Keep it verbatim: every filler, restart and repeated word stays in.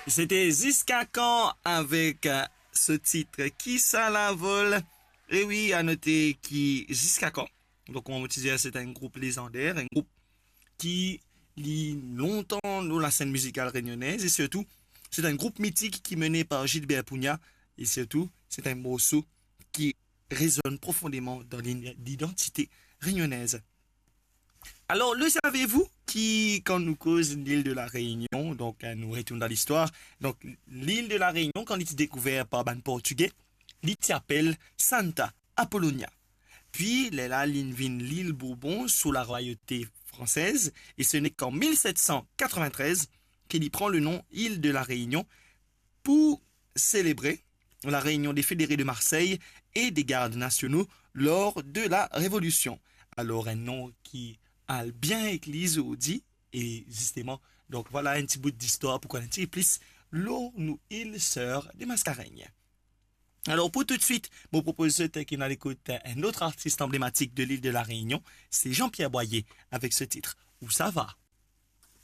Sete Ziska Kan avek, euh, so tit Ki sa lavol. E wi, a note ki Ziska Kan, donk, kouma mo ti dir, se enn group lezander, enn group ki li lontan lor lasenn mizikal renyonez e sirtou, se enn group mitik ki mene par Gilbert Pugna e sirtou, se enn morso ki rezonn profondeman dan lin-, lidantite renyonez. Alor, le savez-vous ki, kan nou koz lil de la Reynion, donk, euh, nou retourn dan listwar, donk, lil de la Reynion, kan li ti dekouver par bann Portige, li ti apel Santa Apolonia. Pi, lerla, li vinn lil Bourbon sou larwayote fransez, e se nek an mil set san katrevintrez ki li pran le nom Ile de la Réunion pou selebre la réunion des fédérés de Marseille et des gardes nationaux lors de la Révolution. Alor, enn nom ki al bien ek li zordi, e zisteman, donk, vwala enn ti bout distwar pou konn enn ti plis lor nou il ser de Mascarenhas. Alor, pou toutswit, mo propoz zot ki nou al ekout enn lot artis anblematik de lil de la Reynion, se Jean-Pierre Boyer avek so tit Ou sa va.